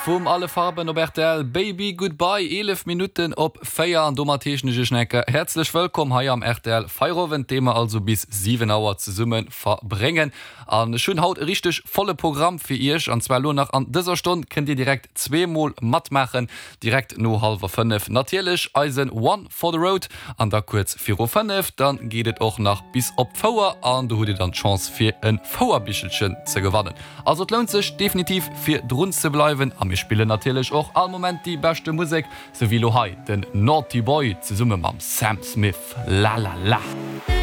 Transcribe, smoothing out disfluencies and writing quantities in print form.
Vum Alle Farben op rtl, Baby Goodbye, 11 Minutten op 4 an domat heeschen ech iech nach eng Kéier häerzlech wëllkomm hei am rtl Feierowend, dee mer also bis 7 Auer zesumme verbréngen. An ech hunn haut e richteg volle Programm fir iech an zwar elo nach an dëser Stonn kënnt dir direkt zweemol matmaachen, direkt no hallwer 5 natierlech eisen One for the Road an da kuerz viru 5 dann geet et och nach bis op d'Fouer an do hutt dir dann d'Chance fir e Fouerbichelchen ze gewannen. Also et lount sech definitiv fir drun ze bleiwen a mir spillen natierlech och all Moment déi beschte Musek, sou wéi lo hei den Naughty Boy zesumme mam Sam Smith, La La La.